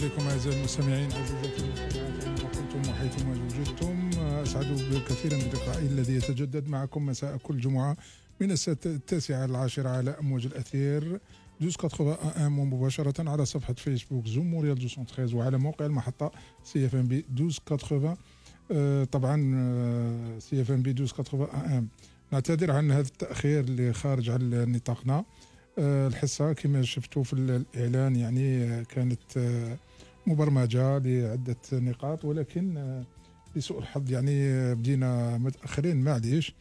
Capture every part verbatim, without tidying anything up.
عليكم أعزائي المستمعين عزيزاتي المستمعات أينما كنتم وحيثما وجدتم. أسعد كثيرا بلقائي الذي يتجدد معكم مساء كل جمعة من الساعة التاسعة العاشرة على أمواج الأثير دوز ثمانين مباشرة على صفحة فيسبوك زوم موريال مئتين وثلاثة وعلى موقع المحطة سي اف ام بي دوز ثمانين. آه طبعا سي اف ام بي دوز ثمانين. نعتذر عن هذا التأخير اللي خارج عن نطاقنا. آه الحصة كما شفتوا في الإعلان يعني آه كانت آه مبرمجة لعدة نقاط، ولكن آه لسوء الحظ يعني آه بدينا متأخرين معليش.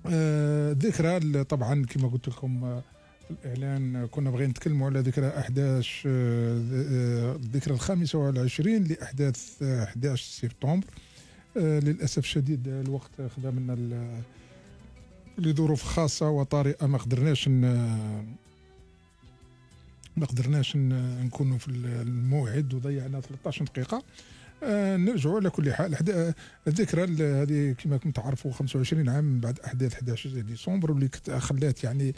آه ذكرى طبعا كما قلت لكم آه في الإعلان كنا بغينا نتكلموا على ذكرى أحداث آه الذكرى الخامسة والعشرين لأحداث آه أحد عشر سبتمبر. آه للأسف الشديد الوقت خدا منا لظروف خاصة وطارئة ما قدرناش ما قدرناش نكونوا في الموعد وضيعنا ثلاثة عشر دقيقة. آه نرجعوا على كل حال. الذكرى هذه كما كنتم تعرفوا خمسة وعشرين عام بعد أحداث أحد عشر ديسمبر واللي خلات يعني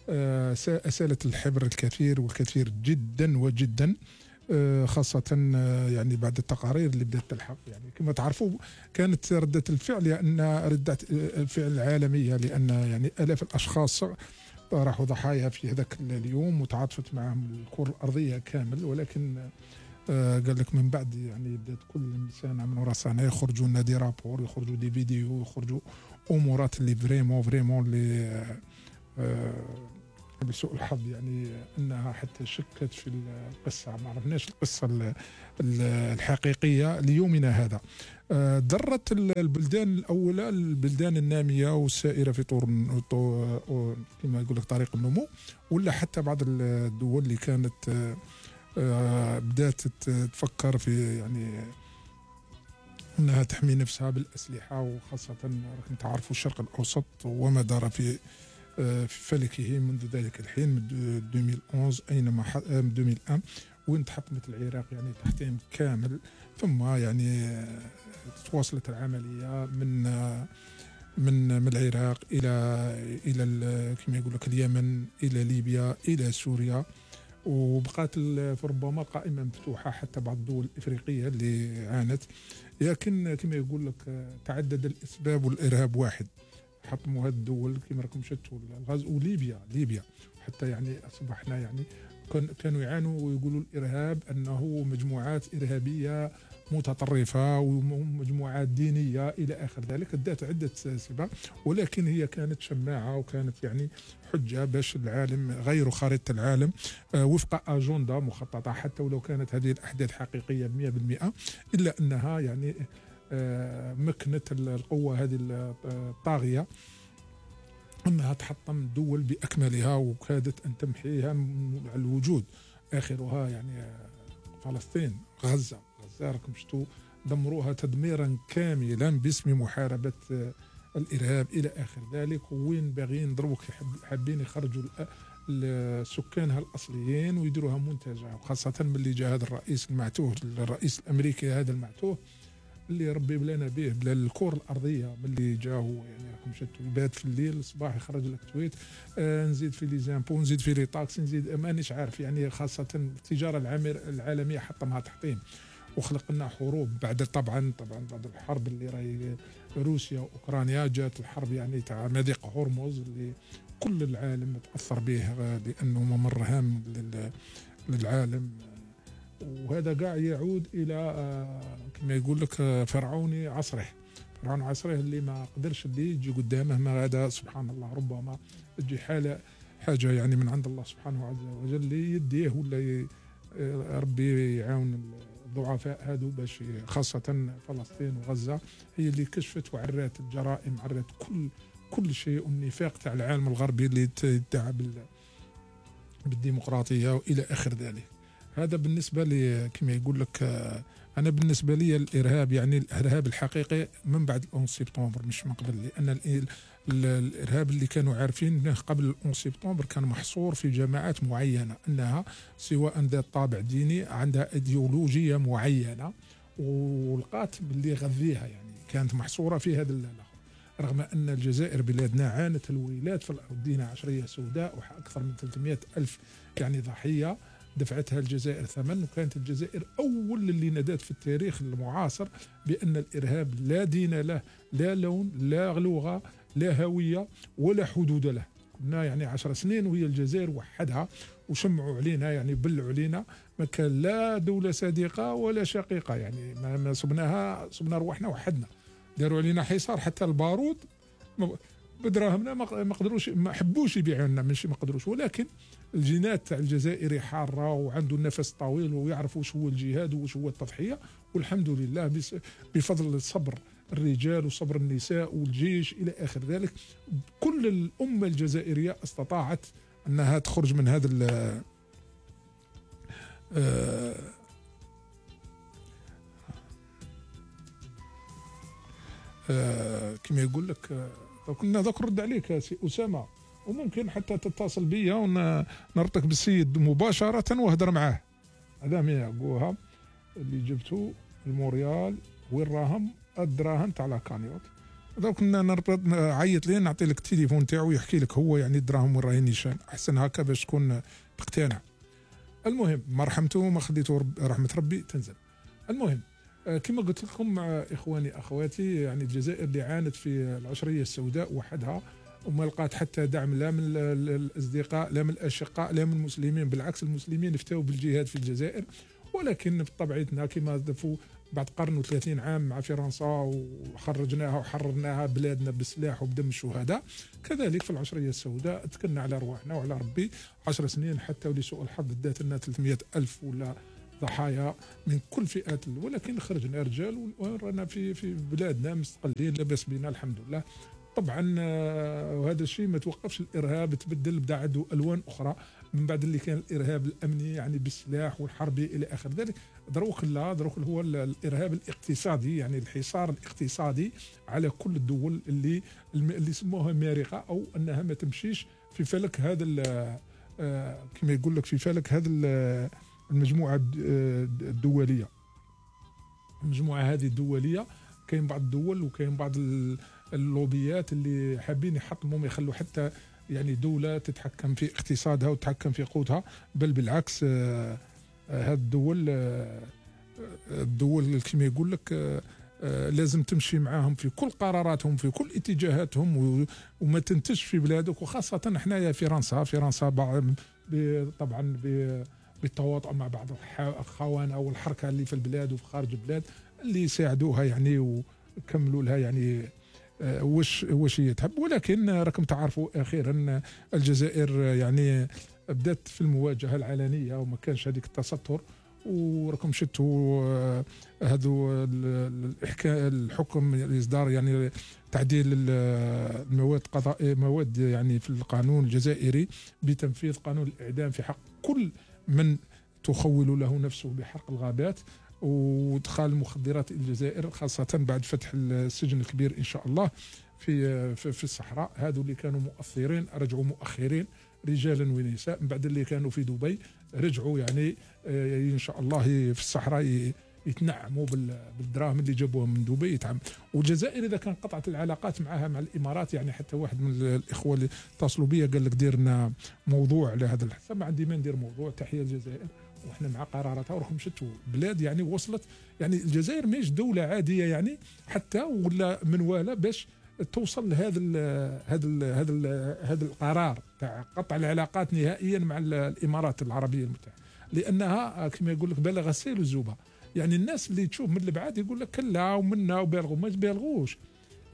آه أسالت الحبر الكثير والكثير جدا وجدا، آه خاصة آه يعني بعد التقارير اللي بدأت تلحق. يعني كما تعرفوا كانت ردة الفعل لأن ردة الفعل العالمية، لأن يعني آلاف الأشخاص راحوا ضحايا في هذاك اليوم وتعاطفت معهم الكرة الأرضية كامل. ولكن آه قال لك من بعد يعني بدأت كل سنة من وراء سنة يخرجوا لنا دي رابور، يخرجوا دي فيديو، يخرجوا أمورات اللي فريمون فريمون اللي آه آه بسوء الحظ يعني أنها حتى شكت في القصة. ما عرفناش القصة الحقيقية ليومنا هذا. ضرت البلدان الأولى البلدان النامية والسائرة في طور كما يقول لك طريق النمو، ولا حتى بعض الدول اللي كانت بدأت تفكر في يعني أنها تحمي نفسها بالأسلحة، وخاصة راكم تعرفوا الشرق الأوسط وما دار في في فلكه منذ ذلك الحين من ألفين وإحدى عشر أينما ألفين وواحد وين تحطمت العراق يعني تحطيم كامل. ثم يعني تواصلت العملية من من من العراق إلى إلى كما يقول لك اليمن، إلى ليبيا، إلى سوريا، وبقات ربما قائمة مفتوحة حتى بعض الدول الإفريقية اللي عانت. لكن كما يقول لك تعدد الأسباب والإرهاب واحد. حطموا هذه الدول كما راكم شفتوا الغاز، وليبيا ليبيا حتى يعني أصبحنا يعني كانوا يعانوا ويقولوا الإرهاب أنه مجموعات إرهابية متطرفة ومجموعات دينية إلى آخر ذلك. ادت عدة أسباب، ولكن هي كانت شماعة وكانت يعني حجة باش العالم غيروا خريطة العالم وفق أجندة مخططة. حتى ولو كانت هذه الأحداث حقيقية مئة بالمئة إلا أنها يعني مكنت القوة هذه الطاغية أنها تحطم دول بأكملها وكادت أن تمحيها من الوجود. آخرها يعني فلسطين، غزة غزة راكم شفتوا دمروها تدميرا كاملا باسم محاربة الإرهاب إلى آخر ذلك. وين باغيين يضربوا حابين يخرجوا سكانها الأصليين ويديروها منتجع، وخاصة من اللي جاء هذا الرئيس المعتوه الرئيس الأمريكي هذا المعتوه اللي ربي بلانا به بلا الكرة الأرضية. من اللي جاهو يعني راكم شفتوا يبات في الليل الصباح يخرج لك تويت آه نزيد في لي زامبو، نزيد في لي تاكس، نزيد مانيش عارف يعني. خاصة التجارة العالمية حطمها تحطيم وخلق لنا حروب بعد طبعا طبعا بعد الحرب اللي راهي روسيا وأوكرانيا. جات الحرب يعني تاع مضيق هرمز اللي كل العالم تأثر به لأنه ممر هام للعالم. وهذا قاع يعود إلى كما يقول لك فرعوني عصره فرعون عصره اللي ما قدرش اللي يجي قدامه. ما هذا سبحان الله ربما تجي حالة حاجة يعني من عند الله سبحانه عز وجل اللي يديه ولا ربي يعاون الضعفاء هذو باش خاصة فلسطين وغزة هي اللي كشفت وعرات الجرائم، عرات كل كل شيء والنفاق تاع العالم الغربي اللي يدعى بالديمقراطية وإلى آخر ذلك. هذا بالنسبة لي كما يقول لك. أنا بالنسبة لي الإرهاب يعني الإرهاب الحقيقي من بعد الأون سبتمبر مش من قبل، لأن الإرهاب اللي كانوا عارفين قبل الأون سبتمبر كان محصور في جماعات معينة أنها سواء ذات طابع ديني عندها إيديولوجية معينة ولقات اللي يغذيها يعني كانت محصورة في هذا الأخر. رغم أن الجزائر بلادنا عانت الويلات في الأرض، دينا عشرية سوداء وأكثر من ثلاثمئة ألف يعني ضحية دفعتها الجزائر ثمن، وكانت الجزائر أول اللي نادت في التاريخ المعاصر بأن الإرهاب لا دين له، لا لون، لا لغة، لا هوية، ولا حدود له. كنا يعني عشر سنين وهي الجزائر وحدها وشمعوا علينا، يعني بلعوا علينا، ما كان لا دولة صديقة ولا شقيقة، يعني ما صبناها، صبنا روحنا وحدنا، داروا علينا حصار، حتى البارود بدراهمنا ما قدروش، ما حبوش يبيعوا لنا، ماشي ما قدروش، ولكن الجينات تاع الجزائري حاره وعنده النفس طويل ويعرف واش هو الجهاد وواش هو التضحيه، والحمد لله بفضل صبر الرجال وصبر النساء والجيش الى اخر ذلك، كل الامه الجزائريه استطاعت انها تخرج من هذا ال آه كما يقول لك. كنا ذاك نرد عليك سي اسامه، وممكن حتى تتصل بيا ونرتك بالسيد مباشره وهدر معاه. هذا من يقوها اللي جبتو الموريال وين راهم الدراهم تاع لاكانيوت. دونك كنا عيط ليه نعطي لك التليفون تاعو يحكي لك هو يعني الدراهم وين راهي نيشان، احسن هكا باش تكون تقتنع. المهم مرحمته ما خليته رب رحمه ربي تنزل. المهم كما قلت لكم اخواني اخواتي، يعني الجزائر اللي عانت في العشريه السوداء وحدها، وما لقات حتى دعم لا من الاصدقاء لا من الاشقاء لا من المسلمين، بالعكس المسلمين افتوا بالجهاد في الجزائر، ولكن بطبيعتنا كما دفوا بعد قرن وثلاثين عام مع فرنسا وخرجناها وحررناها بلادنا بالسلاح وبدم الشهداء، كذلك في العشريه السوداء تكلنا على رواحنا وعلى ربي عشر سنين، حتى ولسوء الحظ دات لنا ثلاثمئة ألف ولا ضحايا من كل فئات، ولكن خرجنا رجال ورانا في في بلادنا مستقلين لاباس بنا الحمد لله. طبعا وهذا الشيء ما توقفش الارهاب، تبدل بدا عنده الوان اخرى من بعد اللي كان الارهاب الامني يعني بالسلاح والحربي الى اخر ذلك. دروك لا دروك هو الارهاب الاقتصادي، يعني الحصار الاقتصادي على كل الدول اللي اللي سموها مارقه، او انها ما تمشيش في فلك هذا كما يقول لك في فلك هذا المجموعه الدوليه. المجموعه هذه الدوليه كاين بعض الدول وكاين بعض اللوبيات اللي حابين يحطموا، يخلوا حتى يعني دولة تتحكم في اقتصادها وتتحكم في قوتها، بل بالعكس هذه الدول الدول كما يقول لك لازم تمشي معاهم في كل قراراتهم في كل اتجاهاتهم وما تنتجش في بلادك. وخاصة احنا فرنسا فرنسا طبعا بالتواطؤ مع بعض الخونة والحركة اللي في البلاد وفي خارج البلاد اللي يساعدوها يعني وكملوا لها يعني وش وش هي تحب. ولكن راكم تعرفوا اخيرا الجزائر يعني بدات في المواجهه العلنيه وما كانش هذيك التستر، وراكم شفتوا هذو الحكم الاصدار يعني تعديل المواد القضائيه مواد يعني في القانون الجزائري بتنفيذ قانون الاعدام في حق كل من تخول له نفسه بحرق الغابات وادخال المخدرات الى الجزائر، خاصه بعد فتح السجن الكبير ان شاء الله في في الصحراء. هذو اللي كانوا مؤثرين رجعوا مؤخرين رجالا ونساء، من بعد اللي كانوا في دبي رجعوا يعني ان شاء الله في الصحراء يتنعموا بالدراهم اللي جابوها من دبي يتعم. والجزائر اذا كان قطعت العلاقات معها مع الامارات، يعني حتى واحد من الاخوه اللي اتصلوا بي قال لك دير لنا موضوع على هذا الحساب، ما عندي ما ندير موضوع. تحيه الجزائر وإحنا مع قراراتها وراكم شفتوا بلاد يعني وصلت، يعني الجزائر ماهيش دولة عادية يعني حتى ولا منوالة باش توصل لهذا ال هذا ال هذا ال هذا القرار تاع قطع العلاقات نهائيا مع الإمارات العربية المتحدة، لأنها كما يقول لك بلغ السيل الزوبة. يعني الناس اللي تشوف من البعاد يقول لك كلا ومنا وبالغوا، ما بالغوش.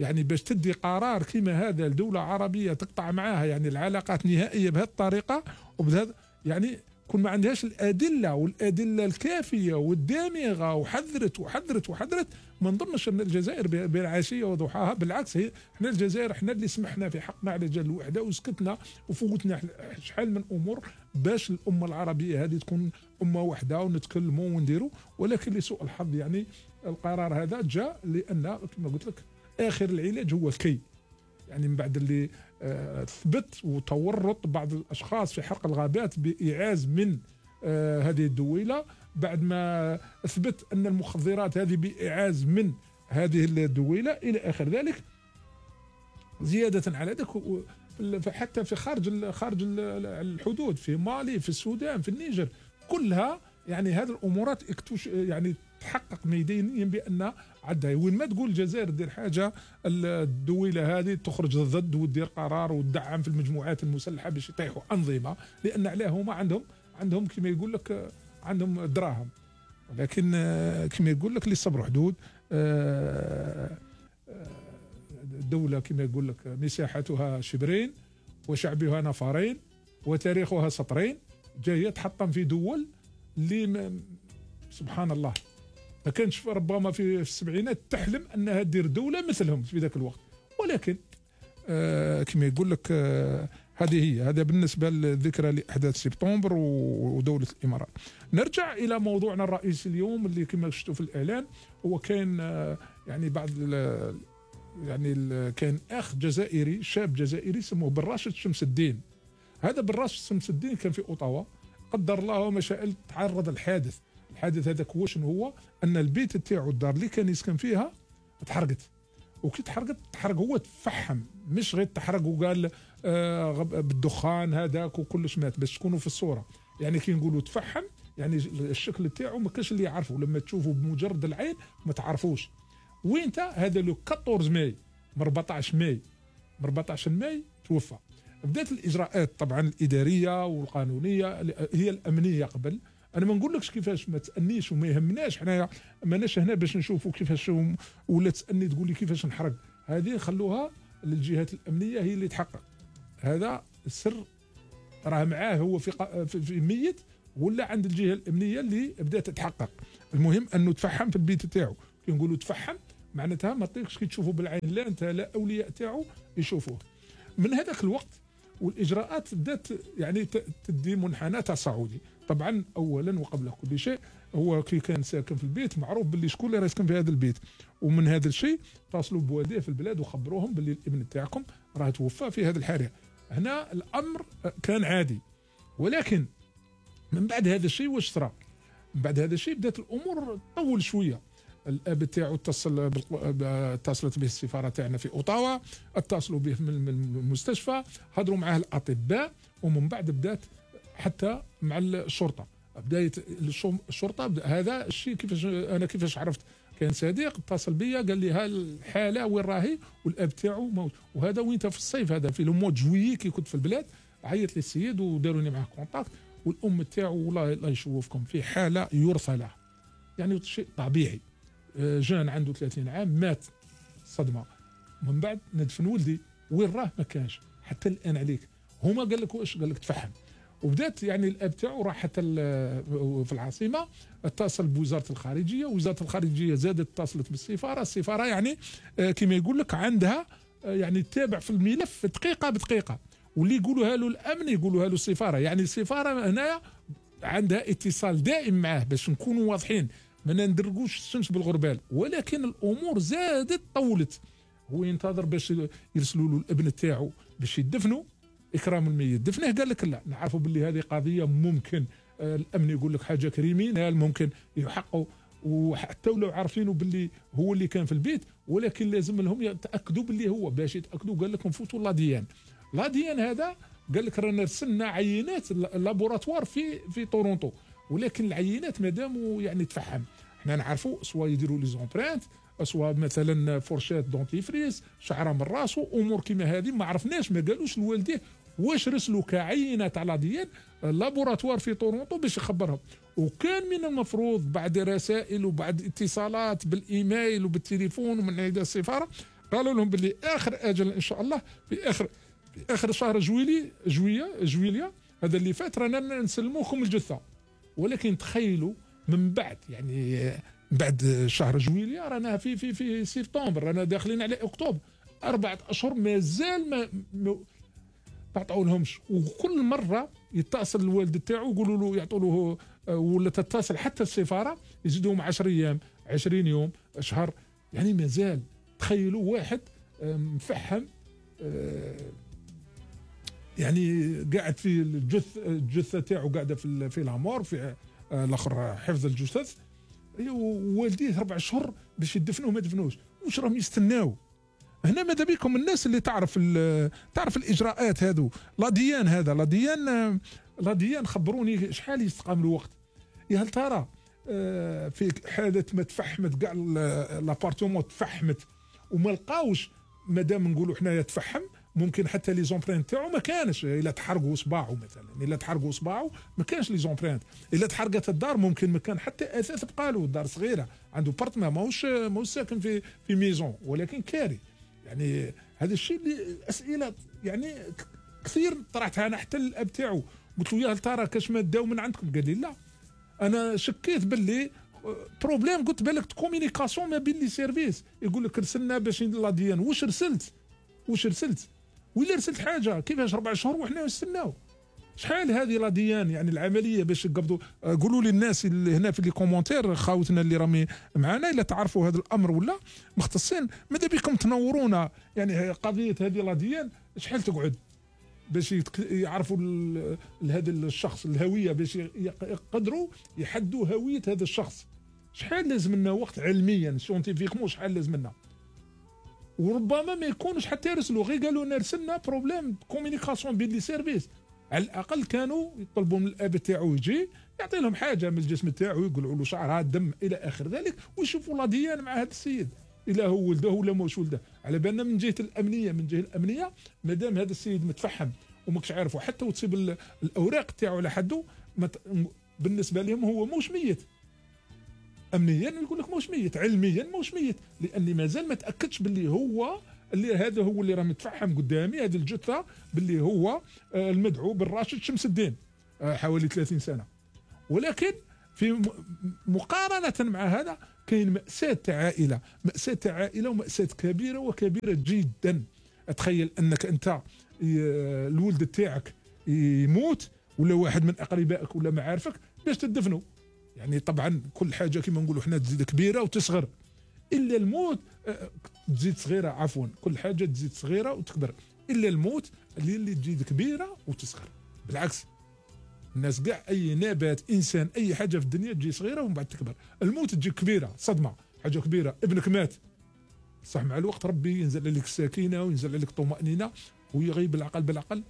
يعني باش تدي قرار كما هذا لدولة عربية تقطع معاها يعني العلاقات نهائية بهذه الطريقة وبهذا يعني كون ما عندهاش الادله والادله الكافيه والدامغه وحذرت وحذرت وحذرت، ما نظنش ان الجزائر بين عشيه وضحاها. بالعكس هي احنا الجزائر احنا اللي سمحنا في حقنا على جال الوحده وسكتنا وفوتنا شحال من امور باش الامه العربيه هذه تكون امه واحده ونتكلموا ونديروا. ولكن لسوء الحظ يعني القرار هذا جاء لان كما قلت لك اخر العلاج هو الكي، يعني من بعد اللي آه ثبت وتورط بعض الاشخاص في حرق الغابات بايعاز من آه هذه الدويله، بعد ما اثبت ان المخدرات هذه بايعاز من هذه الدويله الى اخر ذلك. زياده على ذلك حتى في خارج خارج الحدود في مالي في السودان في النيجر كلها يعني هذه الامورات اكتش يعني تحقق ميدانيا بان عندها وين ما تقول الجزائر دير حاجه الدويله هذه تخرج ضد ودير قرار وتدعم في المجموعات المسلحه باش يطيحوا انظمه، لان علاه هما عندهم عندهم كما يقول لك عندهم دراهم، ولكن كما يقول لك للصبر حدود. الدوله كما يقول لك مساحتها شبرين وشعبها نفرين وتاريخها سطرين، جايه تحطم في دول اللي سبحان الله ما كانش ربما في السبعينات تحلم انها دير دوله مثلهم في ذاك الوقت، ولكن آه كما يقول لك آه هذه هي هذا بالنسبه للذكرى لاحداث سبتمبر ودوله الامارات. نرجع الى موضوعنا الرئيسي اليوم اللي كما شفتوا في الاعلان، هو كان آه يعني بعض يعني كان اخ جزائري شاب جزائري سموه بن راشد شمس الدين. هذا بن راشد شمس الدين كان في اوتاوا، قدر الله وما شاء تعرض الحادث. الحادث هذاك هو شنو هو؟ ان البيت تاعو الدار اللي كان يسكن فيها تحرقت، وكي تحرقت تحرق هو تفحم، مش غير تحرق وقال آه بالدخان هذاك وكلش مات، باش تكونوا في الصوره. يعني كي نقولوا تفحم يعني الشكل تاعو ما كاش اللي يعرفه، لما تشوفه بمجرد العين ما تعرفوش. وين هذا لو أربعطاش ماي من أربعطاش ماي من أربعطاش ماي توفى. بدات الاجراءات طبعا الاداريه والقانونيه، هي الامنيه قبل. انا ما نقولكش كيفاش، ما تسالنيش وما يهمناش، حنايا ماناش هنا باش نشوفوا كيفاش ولا تسالني تقول لي كيفاش نحرق، هذه خلوها للجهات الامنيه هي اللي تحقق. هذا السر راه معاه هو في في ميت ولا عند الجهه الامنيه اللي بدات تتحقق. المهم انه تفحم في البيت تاعو. كي نقولوا تفحم معناتها ما تطيقش كي تشوفوا بالعين، لا انت لا اولياء تاعو يشوفوه. من هذاك الوقت والاجراءات بدات يعني تدي منحنى تصاعدي. طبعا اولا وقبل كل شيء هو كي كان ساكن في البيت معروف باللي شكون اللي راه يسكن في هذا البيت، ومن هذا الشيء اتصلوا بوالديه في البلاد وخبروهم باللي الابن تاعكم راه توفى في هذه الحادثه. هنا الامر كان عادي، ولكن من بعد هذا الشيء واش صرا؟ من بعد هذا الشيء بدات الامور تطول شويه. الاب تاعو اتصل اتصلت به السفاره تاعنا في اوتاوا، اتصلوا به من المستشفى، هضروا معاه الاطباء، ومن بعد بدات حتى مع الشرطه. بدايه الشرطه بدأ هذا الشيء. كيفاش انا كيفاش عرفت؟ كان صديق اتصل بيا قال لي ها الحاله وين راهي والاب تاعو موت. وهذا وين في الصيف، هذا في لو مو جويي كي كنت في البلاد. عيط لي السيد وداروني معاه كونتاكت، والام تاعو والله الله يشوفكم في حاله يرثى لها، يعني شيء طبيعي. جان عنده ثلاثين عام مات صدمه. من بعد ندفن ولدي وين راه ما كانش حتى الان عليك. هما قال لك واش؟ قال لك تفحم. وبدات يعني الاب تاعو راح حتى في العاصمه، اتصل بوزاره الخارجيه، وزاره الخارجيه زادت اتصلت بالسفاره. السفاره يعني كما يقول لك عندها يعني تتابع في الملف دقيقه بدقيقه، واللي يقولوها له الامن يقولوها له السفاره. يعني السفاره هنايا عندها اتصال دائم معاه باش نكونوا واضحين، ما ندرقوش الشمس بالغربال. ولكن الامور زادت طولت. هو ينتظر باش يرسلوا له الابن تاعو باش يدفنوا اكرام الميت. دفنه قال لك لا، نعرفوا باللي هذه قضيه ممكن آه الامن يقول لك حاجه كريمينال ممكن يحقوا، وحتى لو عارفينه باللي هو اللي كان في البيت، ولكن لازم لهم يتاكدوا باللي هو. باش يتاكدوا قال لك نفوتوا لاديان. لاديان هذا قال لك رانا رسلنا عينات لابوراتوار في في تورونتو، ولكن العينات مادام يعني تفحم. احنا نعرفوا سوا يديروا لي زومبرانت، سوا مثلا فورشات دونتيفريس، شعره من راسه، امور كيما هذه ما عرفناش. ما قالوش لوالديه واش رسلوا كعينه تاع لاديان لابوراتوار في تورونتو باش يخبرهم. وكان من المفروض بعد رسائل وبعد اتصالات بالايميل وبالتليفون ومن عند السفاره قالوا لهم باللي اخر اجل ان شاء الله في اخر في اخر شهر جويلي جويه جويليا هذا اللي فات رانا نسلموكم الجثه. ولكن تخيلوا من بعد يعني بعد شهر جويليا رانا في في في سبتمبر، رانا داخلين على اكتوبر، اربعه اشهر مازال ما ما تعطوا لهمش. وكل مره يتصل الوالد تاعو يقولوا له يعطوا له، ولا تتصل حتى السفاره يزيدوهم عشرة ايام عشرين يوم شهر، يعني مازال. تخيلوا واحد مفحم يعني قاعد في الجث الجثه تاعو قاعده في في العمار في الاخر حفظ الجثث، ووالديه اربع شهور باش يدفنوه ما دفنوش. واش راهم يستناو؟ هنا ماذا بكم الناس اللي تعرف تعرف الاجراءات هذو. لاديان هذا لاديان لاديان خبروني شحال يستقام له وقت. يا هل ترى آه في حاله ما تفحمت كاع لابارتومون تفحمت وما لقاوش، مادام نقولوا حنايا تفحم ممكن حتى لي زومبرينت تاعو ما كانش، الا تحرقوا صباعه مثلا، الا تحرقوا صباعه ما كانش لي زومبرينت، الا تحرقت الدار ممكن ما كان حتى اثاث بقى له، الدار صغيره عنده بارتمان ماهوش ماهوش ساكن في في ميزون ولكن كاري. يعني هذا الشيء اللي اسئله يعني كثير طرحتها انا حتى للاب تاعو، قلت له يا هل ترى كاش ما داو من عندكم؟ قال لي لا. انا شكيت باللي بروبليم، قلت بالك كومينيكاسيون ما بين لي سيرفيس، يقول لك رسلنا باش لا ديان، واش رسلت واش رسلت ولا رسلت حاجه؟ كيفاش ربع شهور وحنا نستناو؟ شحال هذه لا ديان يعني العمليه باش يقبضوا؟ قولوا لي الناس اللي هنا في لي كومونتير خاوتنا اللي راهم معنا الا تعرفوا هذا الامر ولا مختصين، ماذا بكم تنورونا يعني قضيه هذه لا ديان شحال تقعد باش يعرفوا هذا الشخص الهويه، باش يقدروا يحدوا هويه هذا الشخص. شحال لازم لنا وقت علميا سيونتيفيكمون، شحال لازم لنا؟ وربما ما يكونش حتى يرسلوا، غير قالوا لنا رسلنا بروبليم كومينيكاسيون بين لي سيرفيس. على الاقل كانوا يطلبوا من الاب تاعو يجي يعطي لهم حاجه من الجسم تاعو، يقولوا له شعرها دم الى اخر ذلك، ويشوفوا لا ديان مع هذا السيد الا هو ولده ولا ماهوش ولده. على بالنا من جهه الامنيه، من جهه الامنيه مادام هذا السيد متفحم وماكش عارفه حتى وتصيب الاوراق تاعو على حده، بالنسبه لهم هو موش ميت. امنيا يقول لك موش ميت، علميا موش ميت، لاني مازال ما تاكدش باللي هو اللي هذا هو اللي راه متفحم قدامي، هذه الجثه باللي هو المدعو بالراشد شمس الدين حوالي ثلاثين سنه. ولكن في مقارنه مع هذا كاين مأساة تاع عائله، مأساة تاع عائله ومأساة كبيره وكبيره جدا. تخيل انك انت الولد تاعك يموت ولا واحد من اقربائك ولا معارفك باش تدفنوا. يعني طبعا كل حاجه كما نقولوا حنا تزيد كبيره وتصغر، الا الموت تزيد صغيره، عفوا كل حاجه تزيد صغيره وتكبر، الا الموت اللي اللي تزيد كبيره وتصغر. بالعكس الناس كاع اي نبات انسان اي حاجه في الدنيا تجي صغيره ومن بعد تكبر. الموت تجي كبيره، صدمه، حاجه كبيره، ابنك مات صح، مع الوقت ربي ينزل عليك السكينه وينزل عليك الطمانينه ويغيب العقل بالعقل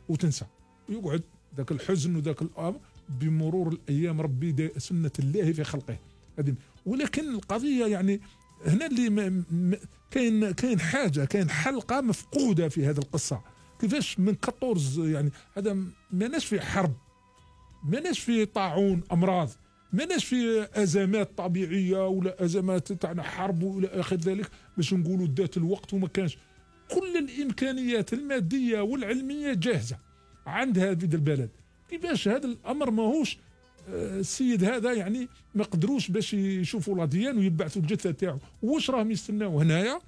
وتنسى، ويقعد ذاك الحزن وذاك الامر بمرور الايام. ربي سنه الله في خلقه هذه. ولكن القضيه يعني هنا اللي كاين كاين حاجه، كاين حلقه مفقوده في هذه القصه. كيفاش من أربعطاش يعني هذا ماناش في حرب، ماناش في طاعون امراض، ماناش في ازمات طبيعيه ولا ازمات تاعنا حرب ولا اخر ذلك باش نقولوا ذات الوقت وما كانش. كل الامكانيات الماديه والعلميه جاهزه عندها في البلد. كيفاش هذا الامر ماهوش السيد هذا يعني ما قدروش باش يشوفوا لا ديان ويبعثوا الجثه تاعو؟ واش راهم يستناو هنايا؟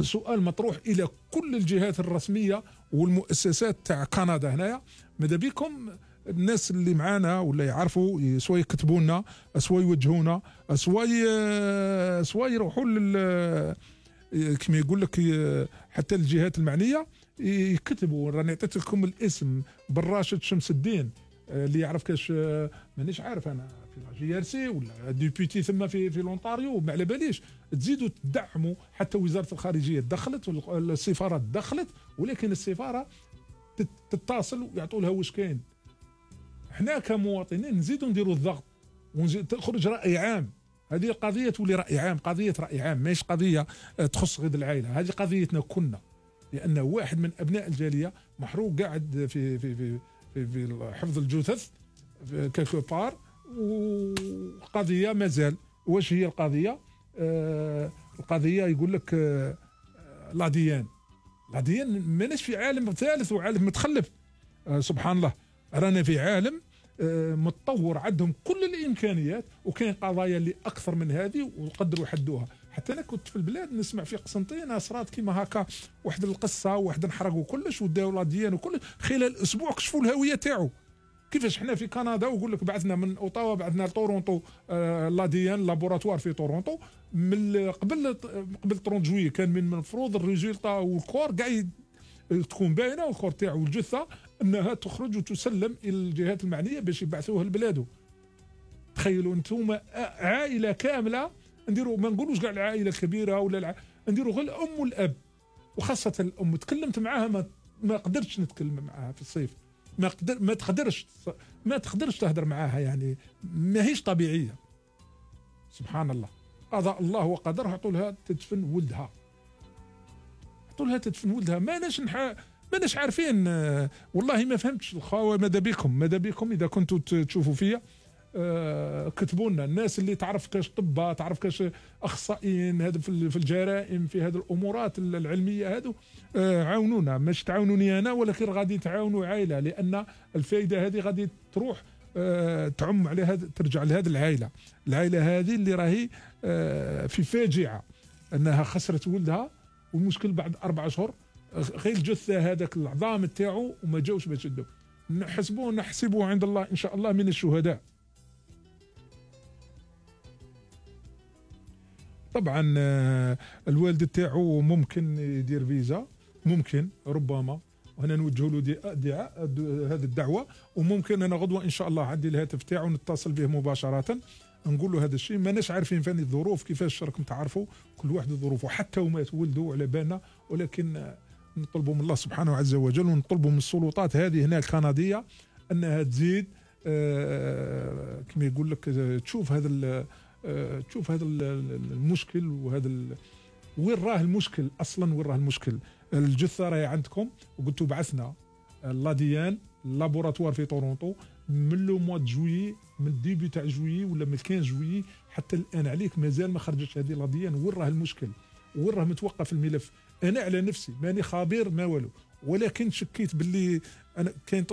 سؤال مطروح الى كل الجهات الرسميه والمؤسسات تاع كندا هنايا. ماذا بكم الناس اللي معانا ولا يعرفوا سواء يكتبوا لنا سواء يوجهونا سواء سواء يروحوا لل كما يقول لك حتى الجهات المعنيه يكتبوا. راني عطيت لكم الاسم بالراشد شمس الدين اللي يعرف كاش، مانيش عارف انا في جي ار سي ولا ديبيوتي ثم في في لونتاريو، ما على باليش. تزيدوا تدعموا، حتى وزاره الخارجيه دخلت والسفارات دخلت، ولكن السفاره تتصل ويعطوا لها واش كاين. احنا كمواطنين نزيدوا نديروا الضغط ونزيد تخرج راي عام. هذه القضيه تولي راي عام، قضيه راي عام ماهيش قضيه تخص غير العائله، هذه قضيتنا كنا، لان واحد من ابناء الجاليه محروق قاعد في في في في, في حفظ الجثث كالكو بار، وقضيه مازال. واش هي القضيه؟ آه القضيه يقول لك آه لا ديان لا ديان ماناش في عالم ثالث وعالم متخلف. آه سبحان الله، رانا في عالم آه متطور، عندهم كل الامكانيات، وكاين قضايا اللي اكثر من هذه وقدروا يحدوها. حتى انا كنت في البلاد نسمع في قسنطينه صرات كيما هكا واحد القصه، واحد انحرقوا كلش وداو لا ديان وكل خلال اسبوع كشفوا الهويه تاعو. كيفاش حنا في كندا ويقول لك بعثنا من اوتاوا بعثنا لتورونتو آه لا ديان لابوراتوار في تورونتو من قبل قبل ثلاثين جويي كان من المفروض الريزولتا والكور كاع تكون باينه، والكور تاعو والجثه انها تخرج وتسلم الى الجهات المعنيه باش يبعثوها لبلاده. تخيلوا انتم عائله كامله، نديروا ما نقولوش كاع العائله الكبيره ولا الع... نديروا غير الام والاب، وخاصه الام. تكلمت معاها ما, ما قدرتش نتكلم معاها في الصيف، ما قدر ما تقدرش ما تقدرش تهدر معاها، يعني ما هيش طبيعيه. سبحان الله، قضاء الله وقدره، عطوا لها تدفن ولدها، عطوا لها تدفن ولدها. ماناش نح... ماناش عارفين. والله ما فهمتش الخاوه. ماذا بكم ماذا بكم اذا كنتوا تشوفوا فيا، آه كتبوا لنا الناس اللي تعرف كاش طباء، تعرف كاش اخصائيين هذا في الجرائم، في هذه الامورات العلميه هذو، آه عاونونا. مش تعاونوني انا، ولكن غادي تعاونوا عائله، لان الفائده هذه غادي تروح آه تعم على هذا، ترجع لهذه العائله. العائله هذه اللي راهي آه في فاجعه انها خسرت ولدها، والمشكل بعد اربع اشهر غير الجثه هذاك العظام تاعو وما جاوش باش يدوا. نحسبوه نحسبوه عند الله ان شاء الله من الشهداء. طبعا الوالد تاعو ممكن يدير فيزا، ممكن ربما، وهنا نوجه له دعاء هذه الدعوه. وممكن انا غدوه ان شاء الله عندي الهاتف تاعو نتصل به مباشره نقول له هذا الشيء. ماناش عارفين فين الظروف كيفاش راكم تعرفوا، كل واحد ظروفه، حتى وما تولدوا على بالنا، ولكن نطلبوا من الله سبحانه عز وجل، ونطلبوا من السلطات هذه هنا الكنديه انها تزيد آه كما يقول لك تشوف هذا آه تشوف هذا المشكل، وهذا وين راه المشكل اصلا، وين راه المشكل. الجثه راهي عندكم، وقلتوا بعثنا لاديان لابوراتوار في تورونتو من لو موا جويي، من ديبي تاع جويي ولا من خمسة جويي حتى الان عليك مازال ما خرجتش هذه لاديان. وين راه المشكل، وين راه متوقف الملف. انا على نفسي ماني خبير ما والو، ولكن شكيت باللي انا كاين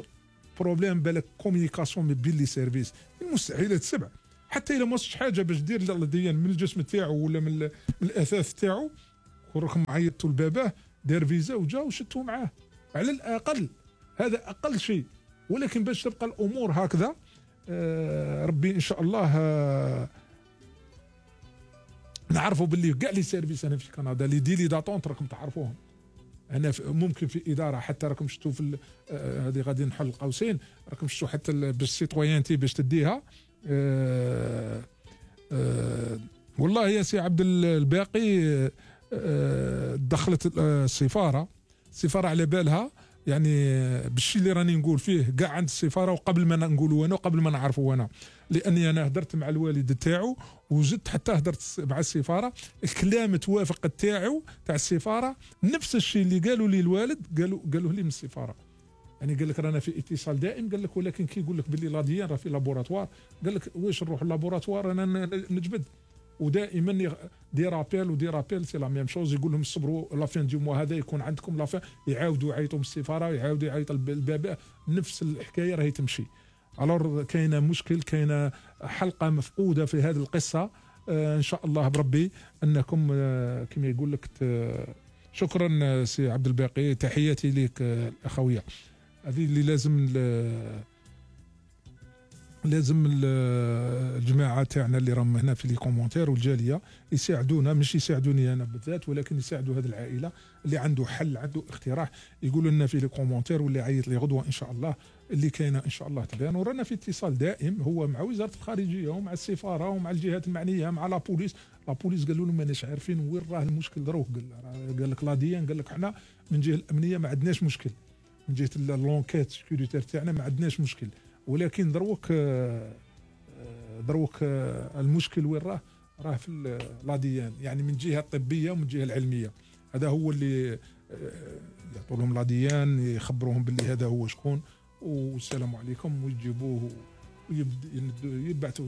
بروبليم بالك كوميونيكاسيون بين لي سيرفيس. المستحيلات سبع، حتى الا ما وصلش حاجه باش دير لاديان من الجسم تاعو ولا من, من الاثاث تاعو، وراكم عيطتوا لباباه دار فيزا وجا وشدتوا معاه على الاقل. هذا اقل شيء. ولكن باش تبقى الامور هكذا، آه ربي ان شاء الله آه نعرفوا باللي كاع لي سيرفيس انا في كندا لي دي لي داتونت راكم تعرفوهم. انا ممكن في اداره حتى راكم شفتوا في هذه آه غادي نحل قوسين، راكم شفتوا حتى باش سيتويانتي باش تديها. آه آه والله يا سي عبد الباقي، آه دخلت السفاره السفاره على بالها، يعني بالشيء اللي راني نقول فيه كاع عند السفاره، وقبل ما نقولوا انا وقبل ما نعرفوا انا، لاني انا هدرت مع الوالد تاعو وزدت حتى هدرت مع السفاره. الكلام توافق تاعو تاع السفاره نفس الشيء اللي قالوا لي الوالد قالوا قالوه لي من السفاره. يعني قال لك رانا في اتصال دائم، قال لك ولكن كي يقول لك باللي لاديان راه في لابوراتوار، قال لك واش نروح لابوراتوار انا نجبد. ودائما دي رابيل ودي رابيل سي لا ميم شوز، يقول لهم صبروا لا فين دو موا هذا يكون عندكم لا فين، يعاودوا يعيطوا من السفاره، يعاودوا يعيطوا الباب، نفس الحكايه راهي تمشي. الور كاينه مشكل، كاينه حلقه مفقوده في هذه القصه. آه ان شاء الله بربي انكم آه كما يقول لك. شكرا سي عبد الباقي، تحياتي لك آه الاخويه. هذه اللي لازم لازم الجماعه تاعنا اللي راهم هنا في لي كومونتير والجاليه يساعدونا، مش يساعدوني انا بالذات، ولكن يساعدوا هذه العائله اللي عنده حل، عنده اقتراح، يقولوا لنا في لي كومونتير، واللي عيط لي غدوه ان شاء الله اللي كاينه ان شاء الله تبان. ورانا في اتصال دائم هو مع وزاره الخارجيه ومع السفاره ومع الجهات المعنيه، مع لا بوليس. لا بوليس قالوا لهم ماناش عارفين وين راه المشكل دروك. قال قال لك لاديان، قال لك حنا من جهه الامنيه ما عندناش مشكل، من جهه لونكيت سيكوريتير تاعنا ما عندناش مشكل، ولكن دروك دروك المشكل وين راه؟ راه في لاديان، يعني من جهه الطبيه ومن الجهه العلميه. هذا هو اللي يعطوا لهم لاديان، يخبروهم باللي هذا هو شكون، والسلام عليكم، ويجيبوه ويبعثوا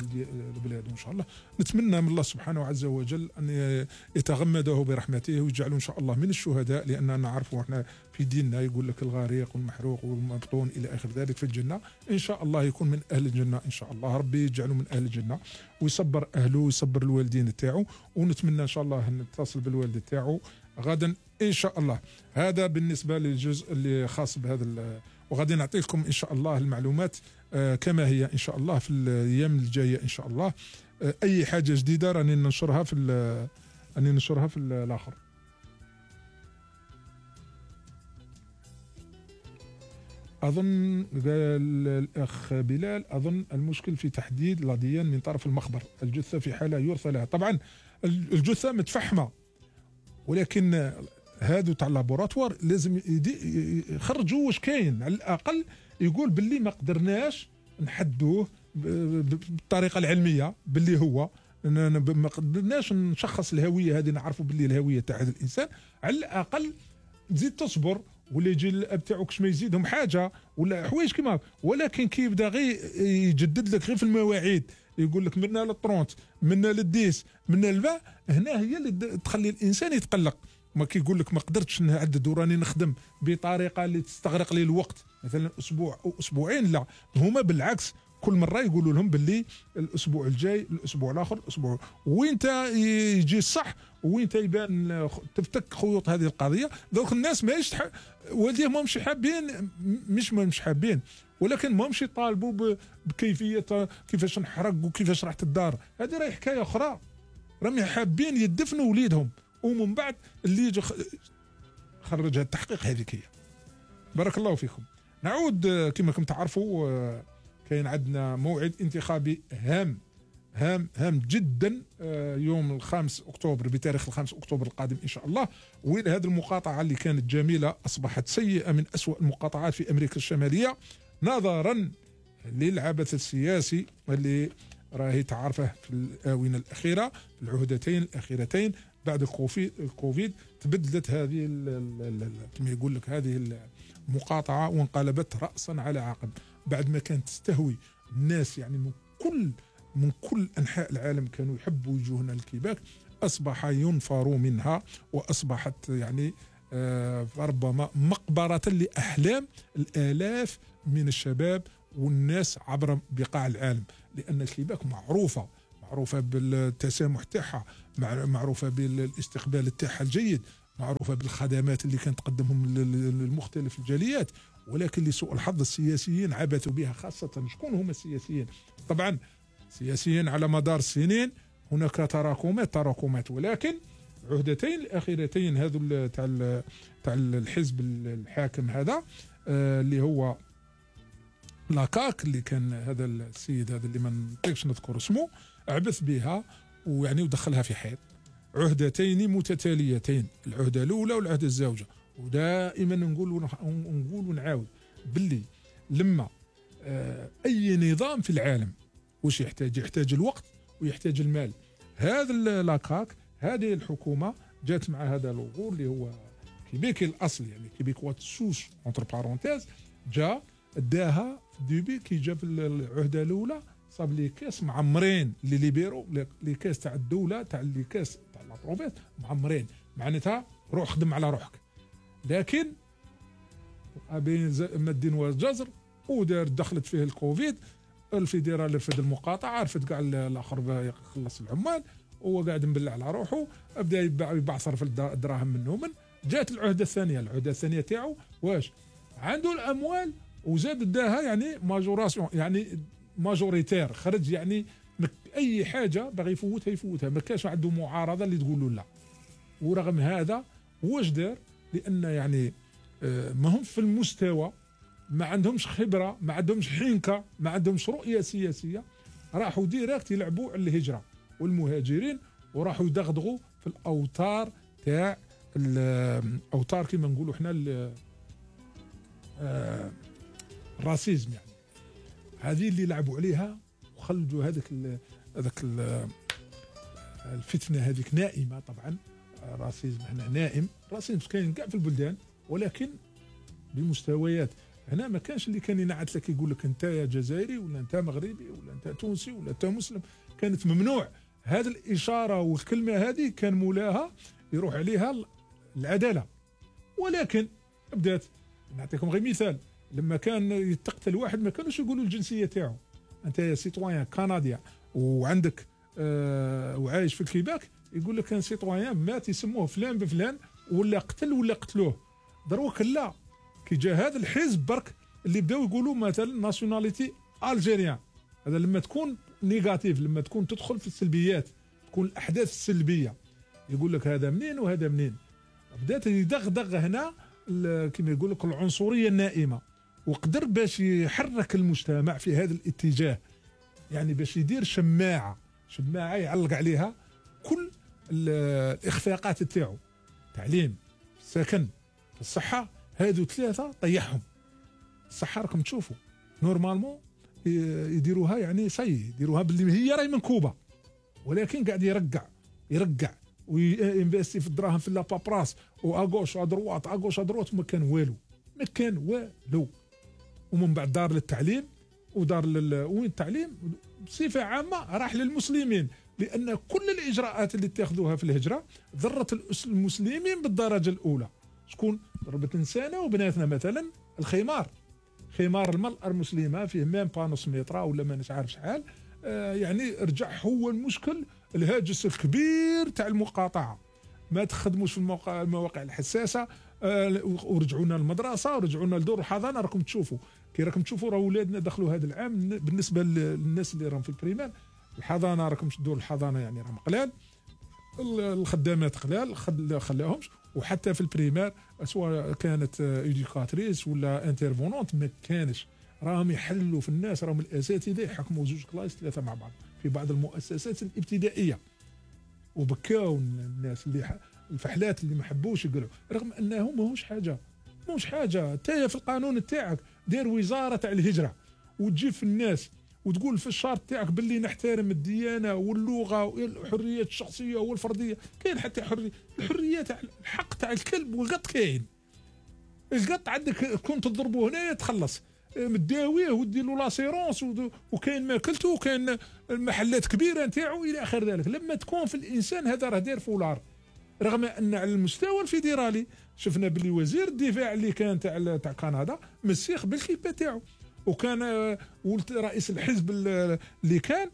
لبلاده ان شاء الله. نتمنى من الله سبحانه عز وجل ان يتغمده برحمته ويجعله ان شاء الله من الشهداء، لاننا نعرفوا احنا في ديننا يقول لك الغريق والمحروق والمبطون الى اخر ذلك في الجنه. ان شاء الله يكون من اهل الجنه ان شاء الله، ربي يجعله من اهل الجنه ويصبر اهله ويصبر الوالدين تاعو. ونتمنى ان شاء الله نتصل بالوالد تاعو غدا ان شاء الله. هذا بالنسبه للجزء اللي خاص بهذا، وغادي نعطيكم ان شاء الله المعلومات آه كما هي ان شاء الله في الايام الجايه ان شاء الله. آه اي حاجه جديده راني ننشرها في راني ننشرها في الاخر. اظن قال الاخ بلال، اظن المشكل في تحديد لاديان من طرف المخبر، الجثه في حاله يرثى لها. طبعا الجثه متفحمه، ولكن هادو تاع اللابوراتوار لازم يخرجوا واش كاين، على الاقل يقول باللي ما قدرناش نحدوه بالطريقه العلميه، باللي هو ما قدرناش نشخص الهويه هذه، نعرفوا باللي الهويه تاع هذا الانسان. على الاقل تزيد تصبر ولا يجي الاب تاعك كش ما يزيدهم حاجه ولا حوايج كيما، ولكن كي يبدا غير يجدد لك غير في المواعيد، يقول لك منا للطرونت منا للديس منا للباء، هنا هي اللي تخلي الانسان يتقلق. ما كيقول لك ما قدرتش نعدد وراني نخدم بطريقه اللي تستغرق لي الوقت مثلا اسبوع او اسبوعين، لا هما بالعكس كل مره يقولوا لهم باللي الاسبوع الجاي الاسبوع الاخر الاسبوع، وين يجي الصح وين يبان تفتك خيوط هذه القضيه. دوك الناس ماهيش تح... والديه ما مش حابين، مش ما مش حابين، ولكن ما مش يطالبوا ب... بكيفيه كيفاش نحرق وكيفاش راحت الدار، هذه راهي حكايه اخرى. راهم حابين يدفنوا وليدهم ومن بعد اللي يجي خرج هذا التحقيق. هذيك هي. بارك الله فيكم. نعود كما كنتم تعرفوا كاين عندنا موعد انتخابي هام هام هام جدا يوم الخامس اكتوبر، بتاريخ الخامس اكتوبر القادم ان شاء الله. وين هذه المقاطعه اللي كانت جميله اصبحت سيئه من أسوأ المقاطعات في امريكا الشماليه، نظرا للعبث السياسي اللي راهي تعرفه في الاونه الاخيره، في العهدتين الاخيرتين بعد الكوفيد. تبدلت هذه كما يقول لك هذه المقاطعه وانقلبت راسا على عقب، بعد ما كانت تستهوي الناس يعني من كل من كل انحاء العالم كانوا يحبوا يجونا الكيباك، اصبح ينفروا منها واصبحت يعني آه ربما مقبره لاحلام الالاف من الشباب والناس عبر بقاع العالم، لان الكيباك معروفه معروفه بالتسامح تاعها، معروفه بالاستقبال تاعها الجيد، معروفه بالخدمات اللي كانت تقدمهم للمختلف الجاليات، ولكن لسوء الحظ السياسيين عبثوا بها. خاصه شكون هم السياسيين؟ طبعا سياسيين على مدار السنين هناك تراكمات تراكمات ولكن العهدتين الاخيرتين هذو تاع تاع الحزب الحاكم هذا آه اللي هو لاكاك، اللي كان هذا السيد هذا اللي ما نطيقش نذكر اسمه، عبث بها ويعني ودخلها في حيط. عهدتين متتاليتين، العهده الاولى والعهده الزوجه. ودائما نقول ونقول ونعاود باللي لما آه اي نظام في العالم وش يحتاج؟ يحتاج الوقت ويحتاج المال. هذا لاكاك هذه الحكومه جات مع هذا الغول اللي هو كيبيكي الاصل، يعني كيبيكوا سوس اونتر بارونتيز، جا داها في الديبي كي جا في العهده الاولى صاب لي كاس معمرين اللي ليبيرو لي كاس تاع الدوله تاع لي كاس تاع لا بروفيس معمرين، معناتها روح خدم على روحك. لكن بين ما الدين والجزر ودار دخلت فيه الكوفيد، الفيدرال رفد المقاطعه، رفد كاع الاخر يخلص العمال، وهو قاعد مبلع على روحه، بدا يبعثر في الدراهم منهم. جات العهده الثانيه، العهده الثانيه تاعو واش عنده الاموال وزاد داها يعني ماجوراسيون، يعني ماجوريتير، خرج يعني اي حاجه باغي يفوتها يفوتها، ما كانش عنده معارضه اللي تقول له لا. ورغم هذا واش دار؟ لان يعني ما هم في المستوى، ما عندهمش خبره، ما عندهمش حنكه، ما عندهمش رؤيه سياسيه، راحوا ديريكت يلعبوا على الهجره والمهاجرين، وراحوا يدغدغوا في الاوتار تاع الاوتار كما نقولوا احنا الراسيزم، يعني هذه اللي لعبوا عليها وخلجوا هذاك هذاك الفتنه هذيك نائمه. طبعا الراسيزم هنا نائم، الراسيزم كاين كاع في البلدان ولكن بمستويات. هنا ما كانش اللي كان ينعت لك يقول لك انت يا جزائري ولا انت مغربي ولا انت تونسي ولا انت مسلم، كانت ممنوع. هذه الاشاره والكلمه هذه كان مولاها يروح عليها العداله. ولكن بدات نعطيكم غير مثال، لما كان يتقتل واحد ما كانوش يقولوا الجنسيه تاعو، انت يا سيتويان كنديا وعندك آه وعايش في الكيباك، يقول لك كان سيتويان مات يسموه فلان بفلان ولا قتل ولا قتلوه. دروك لا، كي جا هذا الحزب برك اللي بداو يقولوا مثلا ناسيوناليتي الجيريان، هذا لما تكون نيجاتيف، لما تكون تدخل في السلبيات، تكون الاحداث السلبيه، يقول لك هذا منين وهذا منين. بدات يدغدغ هنا كما يقول لك العنصريه النائمه، وقدر باش يحرك المجتمع في هذا الاتجاه، يعني باش يدير شماعه شماعه يعلق عليها كل الاخفاقات تاعو، تعليم، سكن، الصحه، هادو ثلاثه طيحهم. الصحة راكم تشوفوا نورمالمون يديروها يعني سي يديروها باللي هي راهي منكوبه، ولكن قاعد يرقع يرقع وينفستي في الدراهم في لابابراس واغوش ادروات اغوش ادروات وما كان والو ما كان والو. ومن بعد دار للتعليم ودار لل... وين التعليم بصفه عامه راح للمسلمين، لان كل الاجراءات اللي اتخذوها في الهجره ضرت المسلمين بالدرجه الاولى. شكون ضربت نسانا وبناتنا؟ مثلا الخمار، خمار المرأة المسلمة فيه ميم با نص متر ولا ما مش عارف شحال، آه يعني رجع هو المشكل الهاجس الكبير تاع المقاطعة. ما تخدموش في المواقع, المواقع الحساسة، آه ورجعونا للمدرسة ورجعونا لدور الحضانة. راكم تشوفوا كي راكم تشوفوا راه ولادنا دخلوا هذا العام بالنسبة للناس اللي راهم في البريمير الحضانة، راكم دور الحضانة يعني راهم قلال، الخدامات قلال خلاهمش. وحتى في البريمير سواء كانت ايديكاتريس ولا انترفونونت ما كانش، راهم يحلوا في الناس، راهم الاساتذه يحكموا زوج كلايس ثلاثه مع بعض في بعض المؤسسات الابتدائيه. وبكاو الناس اللي الفحلات اللي ما حبوش يقولوا، رغم انه ماهوش حاجه ماهوش حاجه. تايا في القانون تاعك دير وزاره تاع الهجره وتجيب في الناس وتقول في الشرط تاعك باللي نحترم الديانه واللغه والحريات الشخصيه والفرديه. كاين حتى حريه الحريه تاع الحق تاع الكلب والقط، كاين القط عندك كنت تضربوه هنايا تخلص مداويه ودير له لاسيرونس، وكاين ماكلته وكاين المحلات كبيره نتاعو الى اخر ذلك. لما تكون في الانسان هذا راه داير فولار. رغم ان على المستوى الفيدرالي شفنا باللي وزير الدفاع اللي كان تاع تاع كندا مسيخ بالكيبه تاعو، وكان ولد رئيس الحزب اللي كان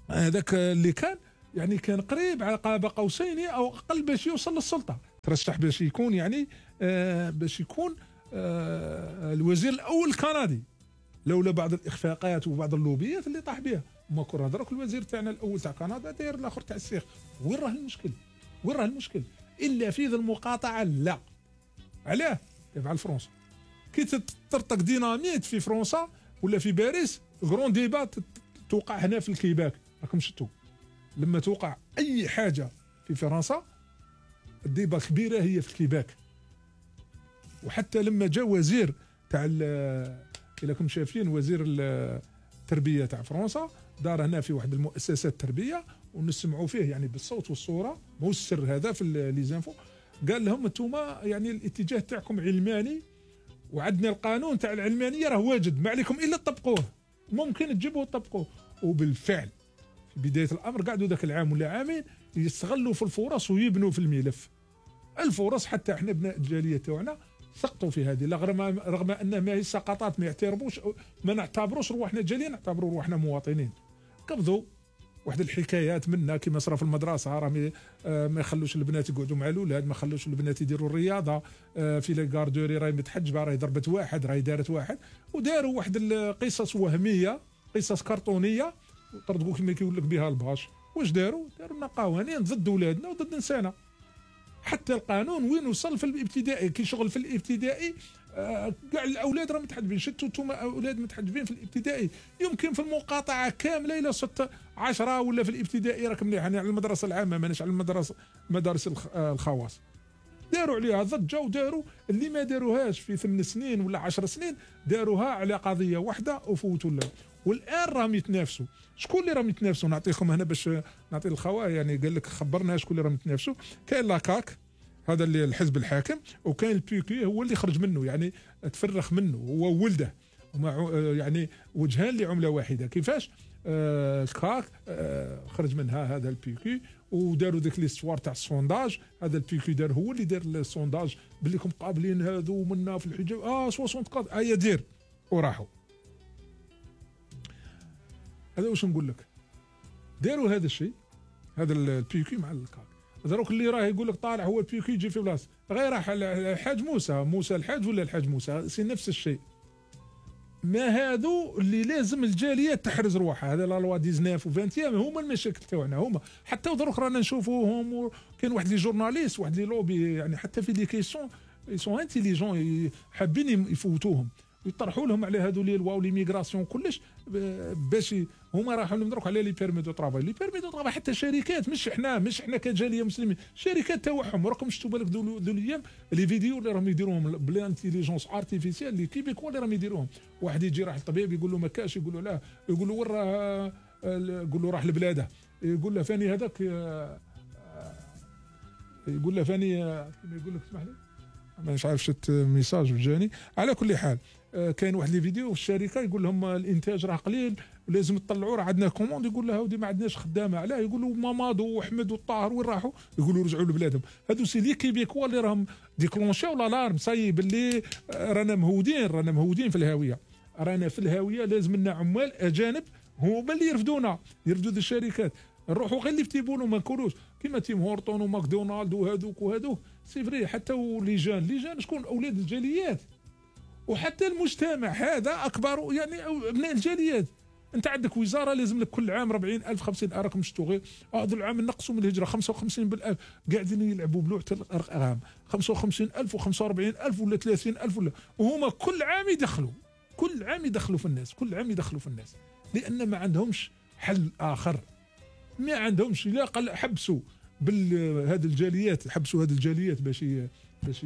هذاك اللي كان يعني كان قريب على قاب قوسين او اقل باش يوصل للسلطه، ترشح باش يكون يعني آه باش يكون آه الوزير الاول الكندي، لولا بعض الاخفاقات وبعض اللوبيات اللي طاح بها. ما كنا دروك الوزير تاعنا الاول تاع كندا داير الاخر تاع السيخ. وين راه المشكل؟ وين راه المشكل؟ الا في ذا المقاطعه. لا علاه يفعل فرنسا كي تطرطق ديناميت في فرنسا ولا في باريس، غرون ديبا توقع هنا في الكيباك. راكم شفتوا لما توقع اي حاجه في فرنسا الديبا الكبيره هي في الكيباك. وحتى لما جاء وزير تاع الا كنتم شايفين وزير التربيه تاع فرنسا دار هنا في واحد المؤسسات التربيه ونسمعوا فيه يعني بالصوت والصوره، مو السر هذا في لي زانفو. قال لهم انتوما يعني الاتجاه تاعكم علماني، وعندنا القانون تاع العلمانيه راه واجد، ما عليكم الا تطبقوه، ممكن تجيبوه وتطبقوه. وبالفعل في بدايه الامر قعدوا ذاك العام ولا عامين يستغلوا في الفرص ويبنوا في الملف الفرص. حتى احنا ابناء الجاليه تاعنا سقطوا في هذه، رغم رغم ان ما هي سقطات ما يعترفوش، ما نعتبروش رواحنا جاليه، نعتبروا رواحنا مواطنين. قبضوا واحد الحكايات منا كما صرا في المدرسه، راه ما يخلوش البنات يقعدوا مع الاولاد، ما يخلوش البنات يديروا الرياضه في لي كاردوري، راهي متحجبه، راهي ضربت واحد، راهي دارت واحد، وداروا واحد القصص وهميه، قصص كرتونيه طردقوا كما كيقول لك بها الباش. واش داروا؟ داروا لنا قوانين ضد اولادنا وضد نسانا. حتى القانون وين وصل في الابتدائي، كي شغل في الابتدائي كاع الاولاد راه متحجبين. شتوا انتم اولاد متحجبين في الابتدائي، يمكن في المقاطعه كامله الى ستة عشرة ولا في الابتدائي راك مليح. يعني على المدرسه العامه ماناش على المدرسه مدارس الخواص داروا عليها ضجه، وداروا اللي ما داروهاش في ثمان سنين ولا عشر سنين داروها على قضيه واحده وفوتوا لها. والان راهم يتنافسوا. شكون اللي راهم يتنافسوا؟ نعطيكم هنا باش نعطي الخوا يعني قال لك خبرنا شكون اللي راهم يتنافسوا. كاين لاكاك هذا اللي الحزب الحاكم، وكاين البيكي هو اللي خرج منه يعني تفرخ منه هو ولده، ومع يعني وجهان لعمله واحده. كيفاش؟ آه الكاك آه خرج منها هذا البيكي، وداروا ذيك ليستوار تاع السونداج. هذا البيكي دار هو اللي دار السونداج باللي كم قابلين هذو منا في الحجاب اه ستين قاد ايا دير وراحوا. هذا واش نقول لك، داروا هذا الشيء هذا البيكي مع الكاك. دروك اللي راه يقول لك طالع هو البيكي يجي في بلاصه غير راح الحاج موسى موسى الحاج ولا الحاج موسى سي نفس الشيء. ما هذو اللي لازم الجاليه تحرز روحها. هذا لا لوا تسعطاش و عشرين هما المشاكل تاعنا هما. حتى دروك رانا نشوفوهم، كاين واحد لي جورناليست واحد لي لوبي يعني حتى في لي كيسيون سون انتيليجون حابين يفوتوهم. يطرحوا لهم على هذو لي لوا ولي ميغراسيون كلش باش هما راحوا نضرك على لي بيرمي دو طرافاي. لي بيرمي دو طرافاي حتى شركات، مش احنا مش احنا كجاليه مسلمين، شركات تاعهم راكم شفتوا بالك ذو الايام لي فيديو اللي راهم يديروهم بالانتيليجونس ارتيفيسيال اللي كيبيكوا اللي راهم يديروهم. واحد يجي راح الطبيب يقول له ما كاش، يقول له لا، يقول له وين راه، يقول له راح لبلاده، يقول له فاني هذاك، يقول له فاني كيما يقول لك اسمح لي مش عارف شت ميساج جاني. على كل حال كاين واحد لي فيديو في الشركه يقول لهم الانتاج راه قليل ولازم تطلعوا، راه عندنا كوموند. يقول له هاودي ما عندناش خدامه، علاه؟ يقولوا مامادو وحمد والطاهر وين راحوا؟ يقولوا رجعوا لبلادهم. هادو سي لي كيبيكوا اللي راهم ديكلونشاو لالارم، صاي باللي رانا مهودين، رانا مهودين في الهاويه، رانا في الهاويه، لازم لنا عمال اجانب هما اللي يرفدونا، يرفدوا الشركات. نروحوا غير اللي يفتيبونوا ما نكونوش كيما تيم هورتون وماكدونالد وهذوك وهذوك. سي فري حتى وليجان، ليجان شكون؟ اولاد الجاليات، وحتى المجتمع هذا اكبر يعني ابناء الجاليات. انت عندك وزاره لازم لك كل عام أربعين ألف خمسين ألف راكم شفتوا غير هذا العام نقصوا من الهجره خمسة وخمسين بالألف، قاعدين يلعبوا بلوعه الارقام خمسة وخمسين ألف وخمسة وأربعين ألف ولا ثلاثين ألف ولا، وهما كل عام يدخلوا، كل عام يدخلوا في الناس، كل عام يدخلوا في الناس، لان ما عندهمش حل اخر، ما عندهمش. لا قال حبسوا بالهذه الجاليات، حبسوا هذه الجاليات باش باش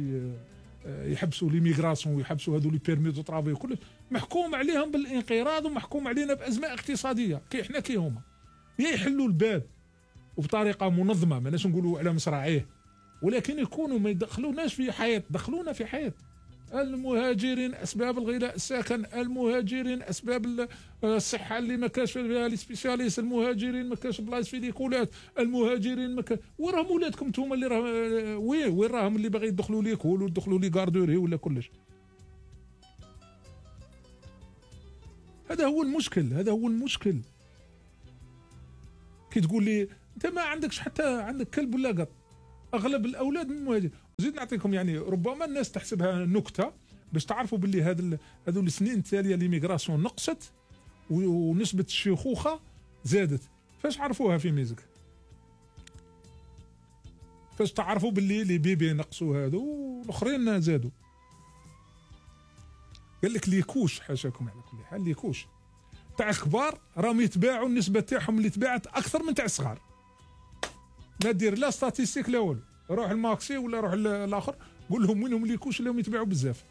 يحبسوا ليميغراسيون ويحبسوا هذو لي بيرمي دو طرافاي وكل، محكوم عليهم بالانقراض ومحكوم علينا بازمه اقتصاديه كي احنا كي هما. يا يحلوا الباب وبطريقه منظمه، ماناش نقولوا على مصراعيه، ولكن يكونوا ما يدخلوناش في حياه، دخلونا في حياه. المهاجرين اسباب الغلاء السكن، المهاجرين اسباب الصحه اللي ما كاش فيها لي سبيسياليست، المهاجرين ما كاش بلايص في ليكولات، المهاجرين ما كاش. وين راهم ولادكم نتوما اللي راه وين وين راهم اللي باغي يدخلوا ليكول ويدخلوا لي غاردوري ولا كلش؟ هذا هو المشكل، هذا هو المشكل. كي تقول لي انت ما عندكش حتى عندك كلب ولا قط، اغلب الاولاد من المهاجرين. زيد نعطيكم يعني ربما الناس تحسبها نكته باش تعرفوا باللي هذا هذو السنين التاليه ليميغراسيون نقصت ونسبه الشيخوخه زادت. فاش عرفوها في ميزك؟ فاش تعرفوا باللي لي بيبي نقصوا هذو والاخرين زادوا؟ قال لك ليكوش، حاشاكم على كل حال، ليكوش تاع الكبار راهم يتباعوا، النسبه تاعهم اللي تباعت اكثر من تاع الصغار. ما دير لا ستاتيستيك لا والو، روح الماكسي ولا روح الاخر قول لهم وينهم ليكوش اللي هم يتباعوا بزاف.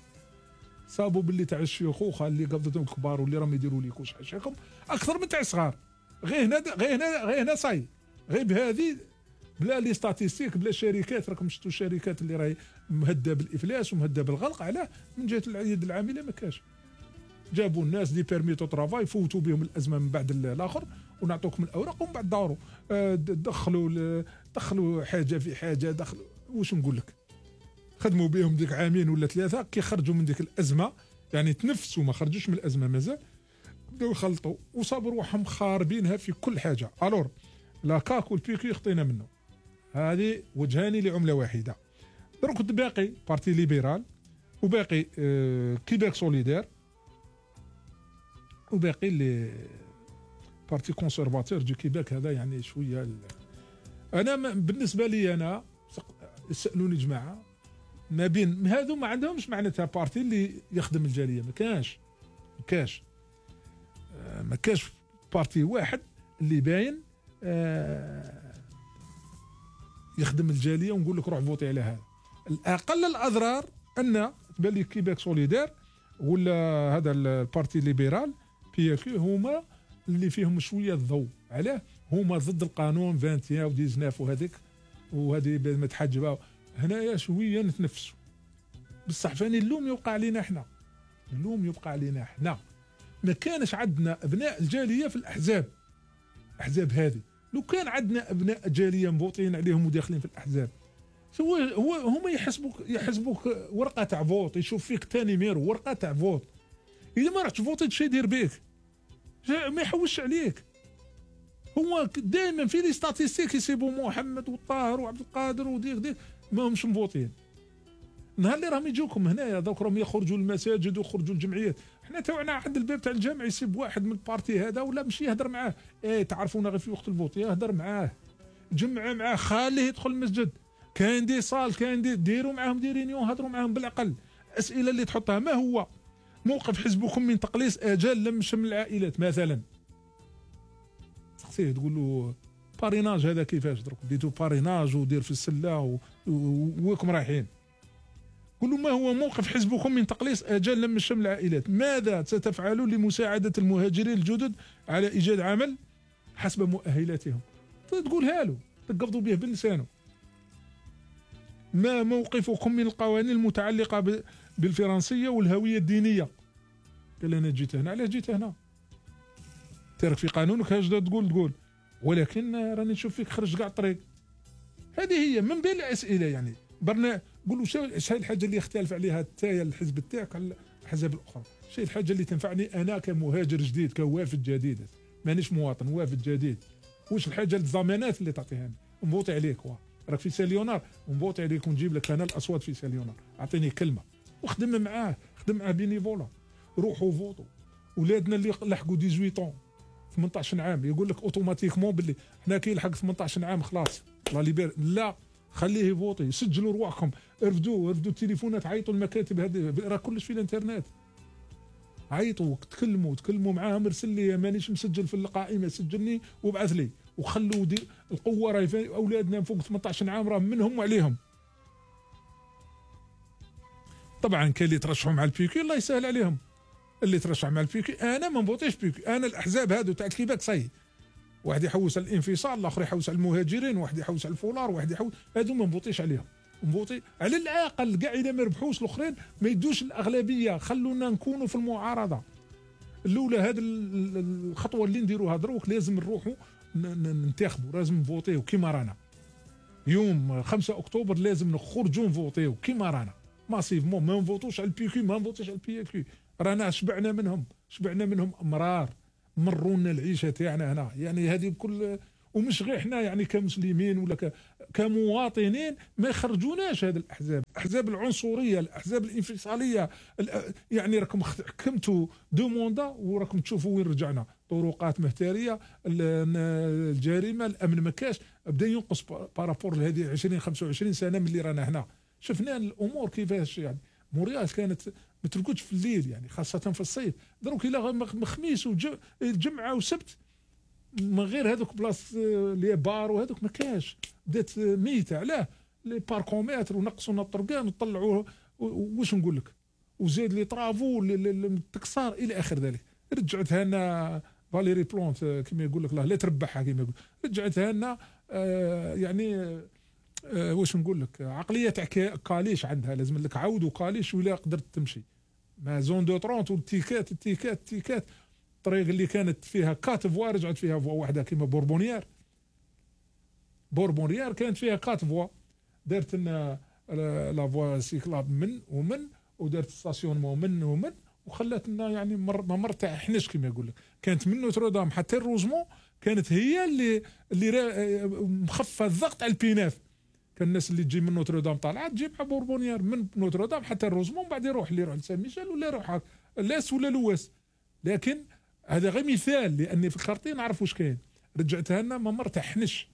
صابوا باللي تاع الشيخوخه اللي قبضتهم الكبار واللي راهم يديروا ليكوش حاشاكم اكثر من تاع الصغار. غير هنا غير هنا غير هنا صاي، غير بهذه بلا لي ستاتيستيك بلا شركات. راكم شفتوا الشركات اللي راهي مهده بالافلاس ومهده بالغلق، علاه؟ من جهه اليد العامله ما كاش. جابوا الناس دي بيرميتو طرافاي، فوتوا بهم الازمه من بعد الاخر ونعطوكم الاوراق ومن بعد داروا دخلوا دخلوا حاجه في حاجه، دخلوا واش نقول لك، خدموا بهم ديك عامين ولا ثلاثه، كي خرجوا من ديك الازمه يعني تنفسوا، ما خرجوش من الازمه مازال، بداو يخلطوا وصابوا روحهم خاربينها في كل حاجه. الور لا كاك والبيكي خطينا منه، هذه وجهان لعمله واحده. دروك باقي بارتي ليبرال، وباقي آه كيباك سوليدير، وباقي لي بارتي كونسيرفاتور دو كيباك. هذا يعني شويه ال... انا بالنسبه لي انا سالوني جماعه ما بين هذو ما عندهمش معناتها بارتي اللي يخدم الجاليه، ما كاش ما كاش ما كاش بارتي واحد اللي باين آه يخدم الجاليه ونقول لك روح فوتي على هذا. الاقل الاضرار ان تبان لي كيباك سوليدير ولا هذا البارتي ليبرال بي كيو هما اللي فيهم شويه الضوء. علاه؟ هما ضد القانون واحد وعشرين و19 وهذيك وهذه متحجبه. هنايا شويه نتنفسوا، بصح فاني اللوم يوقع علينا احنا، اللوم يبقى علينا احنا. ما كانش عندنا ابناء الجاليه في الاحزاب، الاحزاب هذه لو كان عندنا ابناء جاليه مبوطين عليهم وداخلين في الاحزاب، هو هو هما يحسبوك يحسبوك ورقه تاع فوت، يشوف فيك ثاني ميرو ورقه تاع فوت. اذا ما رحتش فوتي شي يدير بيك، ما يحوش عليك. هو دائما في لي ستاتيستيك يسيبوا محمد والطاهر وعبد القادر وديك ديك ما همش مفوتين. نهار اللي راهم يجوكم هنايا دوك راهم يخرجوا للمساجد ويخرجوا للجمعيات، حنا توعنا عند الباب تاع الجامع يسيب واحد من البارتي هذا ولا مشي يهدر معاه، ايه تعرفونا غير في وقت الفوت، يهدر معاه جمع معاه، خليه يدخل المسجد. كاين دي صال كاين دي ديروا معاهم دي رينيون، هضروا معاهم بالعقل. الاسئله اللي تحطها ما هو موقف حزبكم من تقليص اجال لم شمل العائلات مثلا. تسقسيه تقول له باريناج هذا كيفاش درك ديتو باريناج ودير في السله وكم رايحين. قل له ما هو موقف حزبكم من تقليص اجال لم شمل العائلات؟ ماذا ستفعلون لمساعده المهاجرين الجدد على ايجاد عمل حسب مؤهلاتهم؟ تقولها له تقبضوا به بلسانه. ما موقفكم من القوانين المتعلقه بالفرنسيه والهويه الدينيه؟ قال انا جيت هنا. علاش جيت هنا؟ ترك في قانونك هاش تقول تقول ولكن راني نشوف فيك خرج كاع الطريق. هذه هي من بين الاسئله يعني. برنا قول له شنو الحاجه اللي يختلف عليها التايا الحزب تاعك على الاحزاب الاخرى؟ شنو الحاجه اللي تنفعني انا كمهاجر جديد كوافد جديد مانيش مواطن وافد جديد؟ واش الحاجه الضمانات اللي تعطيها لي؟ نبوطي عليك وا راك في ساليونار نبوطي عليك ونجيب لك انا الاصوات في ساليونار. اعطيني كلمه وخدم معاه خدم معاه بينيفولا. روحوا فوتوا. ولادنا اللي لحقوا ثمانية عشر ثمانية عشر عام يقول لك اوتوماتيكمون باللي حنا كي يلحق ثمانية عشر عام خلاص لا ليبر. لا خليه يفوتي. سجلوا رواحكم ارفدوا ارفدوا التليفونات عيطوا المكاتب هذه راه كلش في الانترنت. عيطوا تكلموا تكلموا معاهم ارسل لي مانيش مسجل في القائمه سجلني وابعث لي وخلوا دي القوه راهي اولادنا فوق ثمانية عشر عام راه منهم وعليهم. طبعا كاين اللي ترشحوا مع البيكي الله يسهل عليهم. اللي ترشح مع البيكي انا ما نبوطيش بيكي. انا الاحزاب هادو تاع الكيباك صاي واحد يحوس على الانفصال الاخر يحوس على المهاجرين واحد يحوس على الفولار واحد يحوس هادو ما نبوطيش عليهم. نبوطي على الاقل كاع اذا ما ربحوش الاخرين ما يدوش الاغلبيه. خلونا نكونوا في المعارضه الاولى. هذه الخطوه اللي نديروها دروك لازم نروحوا ننتخبوا لازم نفوتيو كيما رانا. يوم خمسة اكتوبر لازم نخرجوا نفوتيو كيما رانا ماسيفمون. ما نفوتوش على البي كيو ما نفوتوش على البي كيو. رانا شبعنا منهم شبعنا منهم امرار مرونا العيشه تاعنا هنا يعني. هذه بكل ومش غير احنا يعني كمسلمين ولا ك... كمواطنين ما يخرجوناش هذه الاحزاب. الاحزاب العنصريه الاحزاب الانفصاليه يعني راكم حكمتوا دو موندا وراكم تشوفوا وين رجعنا. طرقات مهتريه الجريمه الامن ما كاش بدا ينقص بارابور لهذه عشرين خمسة وعشرين سنه من اللي رانا هنا. شفنا الامور كيفاش يعني. مورياس كانت ما ترقدش في الليل يعني خاصه في الصيف. دروك الى خميس وجمعه وسبت من غير هذوك بلاص لي بار وهذوك ما كاش. بدات ميته. علاه لي باركومتر ونقصوا الطرقان وطلعوه واش نقول لك وزاد لي طرافو التكسار الى اخر ذلك. رجعتها لنا فاليري بلونت كما يقول لك لا تربحها كما يقول. رجعتها لنا آه يعني آه واش نقول لك عقليه تاع كاليش عندها. لازم لك عود وكاليش ولا قدرت تمشي ما زون دو ثلاثين والتيكات التيكات التيكات. الطريق اللي كانت فيها كات فوا رجعت فيها فوا واحده كيما بوربونيير. بوربونيير كانت فيها كات فوا دارت لنا لا فوا سيكلاب من ومن ودارت ستاسيونمون من ومن وخلات لنا يعني ممر تاع حنش كما يقول لك. كانت من نوتردام حتى الروزمون كانت هي اللي اللي مخففه الضغط على البيناف. كان الناس اللي تجي من نوتردام طالعه تجي مع بوربونيير من نوتردام حتى الروزمون بعد يروح اللي يروح لسان ميشيل ولا يروح لاس ولا لواس. لكن هذا غير مثال لاني في الخرطين نعرف واش كاين. رجعتها لنا ممر تاع حنش.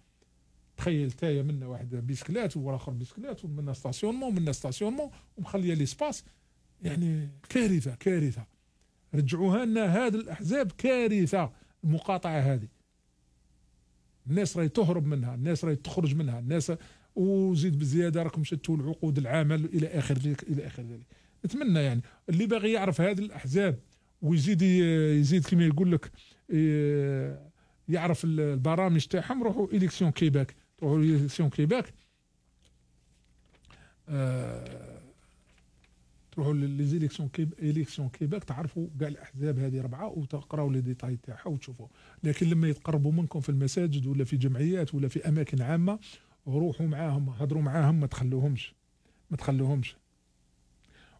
تخيل تايا منا واحد بيسكلات والاخر بيسكلات ومنا ستاسيونمون ومنا ستاسيونمون ومخليه ليسباس يعني كارثه كارثه. رجعوها لنا هذه الاحزاب كارثه. المقاطعه هذه الناس راهي تهرب منها الناس راهي تخرج منها الناس وزيد بزياده راكم شتوا العقود العمل الى اخر ذلك الى اخر ذلك. نتمنى يعني اللي باغي يعرف هذه الاحزاب ويزيد يزيد كما يقول لك يعرف البرامج تاعهم روحوا اليكسيون كيباك. روحوا اليكسيون كيباك آه تروحوا ليزيليكسيون كيب اليكسيون كيباك تعرفوا كاع الاحزاب هذه ربعه وتقراوا لي ديتاي تاعها وتشوفوا. لكن لما يتقربوا منكم في المساجد ولا في جمعيات ولا في اماكن عامه روحوا معاهم هضروا معاهم ما تخلوهمش ما تخلوهمش.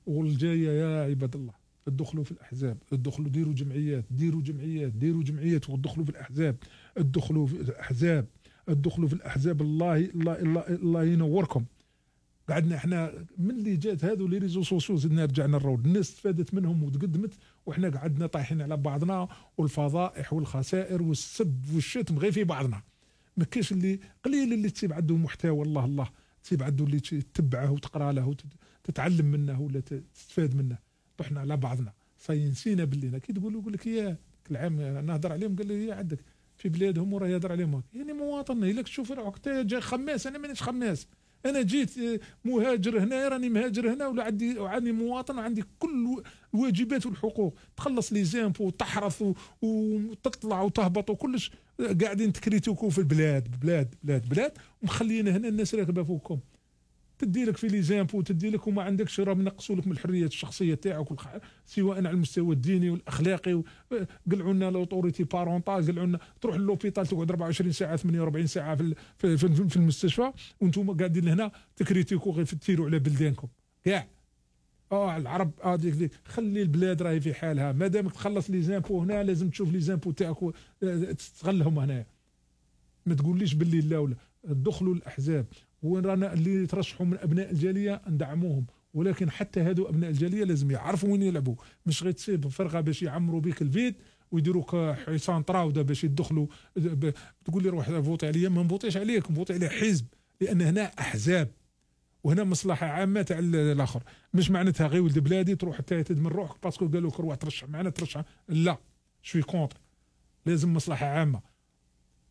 والجايه يا عباد الله ادخلوا في الاحزاب ادخلوا ديروا جمعيات ديروا جمعيات ديروا جمعيات وادخلوا في الاحزاب ادخلوا في الاحزاب ادخلوا في الاحزاب. الله الله الله, الله ينوركم. قعدنا احنا من اللي جات هذو لي ريزو سوسيو زدنا رجعنا الرود. الناس استفادت منهم وتقدمت وحنا قعدنا طايحين على بعضنا والفضائح والخسائر والسب والشتم غير في بعضنا. ما كاينش اللي قليل اللي تسيب عنده محتوى الله الله تسيب عنده اللي تتبعه وتقرا له وتتعلم منه ولا تستفاد منه. طحنا على بعضنا صاي نسينا باللي كي تقول يقول لك يا العام نهضر عليهم قال لي يا عندك في بلادهم وراه يهضر عليهم يعني مواطن الا تشوف روحك جاي خماس انا مانيش خماس انا جيت مهاجر هنا راني مهاجر هنا ولا عندي وعندي مواطن وعندي كل الواجبات والحقوق تخلص لي زامبو وتحرث وتطلع وتهبط وكلش قاعدين تكريتوكو في البلاد بلاد بلاد بلاد ومخليين هنا الناس راكبه فوقكم تدي لك في لي زامبو تدي لك وما عندكش راه نقصوا لك من الحريات الشخصيه تاعك سواء على المستوى الديني والاخلاقي قلعوا لنا لوطوريتي بارونتال قلعوا لنا تروح للوبيتال تقعد أربعة وعشرين ساعه ثمانية وأربعين ساعه في في, في, في المستشفى وانتم قاعدين هنا تكريتيكو غير تثيروا على بلدانكم كاع اه العرب اه ديك ديك خلي البلاد راهي في حالها ما دامك تخلص لي زامبو هنا لازم تشوف لي زامبو تاعك تستغلهم هنا ما تقوليش باللي لا ولا دخلوا الاحزاب وين رانا اللي يترشحوا من ابناء الجاليه ندعموهم ولكن حتى هادو ابناء الجاليه لازم يعرفوا وين يلعبوا مش غير تصيب فرقه باش يعمروا بك الفيد ويديروك حصان طراوده باش يدخلوا تقول لي روح فوتي عليا ما نفوتيش عليك نفوتي على حزب لان هنا احزاب وهنا مصلحه عامه تاع الاخر مش معناتها غير ولد بلادي تروح تهدد من روحك باسكو قالوا لك روح ترشح معنا ترشح لا شوي كونتر لازم مصلحه عامه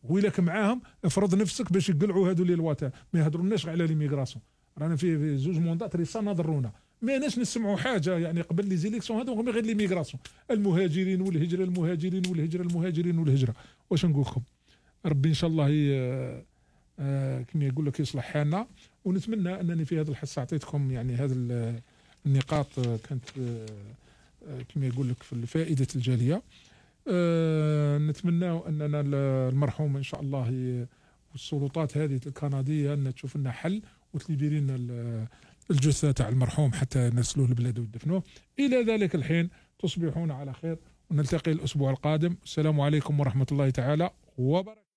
ويلك معاهم افرض نفسك باش يقلعوا هادو لي الواتا ما يهضروناش على ليميغراسيون رانا في زوج موندات ريسا نضرونا ما ناش نسمعوا حاجه يعني قبل لي زيليكسيون هادو غير ليميغراسيون المهاجرين والهجره المهاجرين والهجره المهاجرين والهجره واش نقول لكم ربي ان شاء الله هي آه كما يقول لك يصلح حالنا ونتمنى انني في هذا الحصه اعطيتكم يعني هذه النقاط كانت آه كما يقول لك في فائده الجاليه أه نتمنى اننا المرحوم ان شاء الله والسلطات هذه الكنديه ان تشوف لنا حل وتليبري لنا الجثه تاع المرحوم حتى نرسلوه لبلاده ويدفنوه. الى ذلك الحين تصبحون على خير ونلتقي الاسبوع القادم. السلام عليكم ورحمه الله تعالى وبركاته.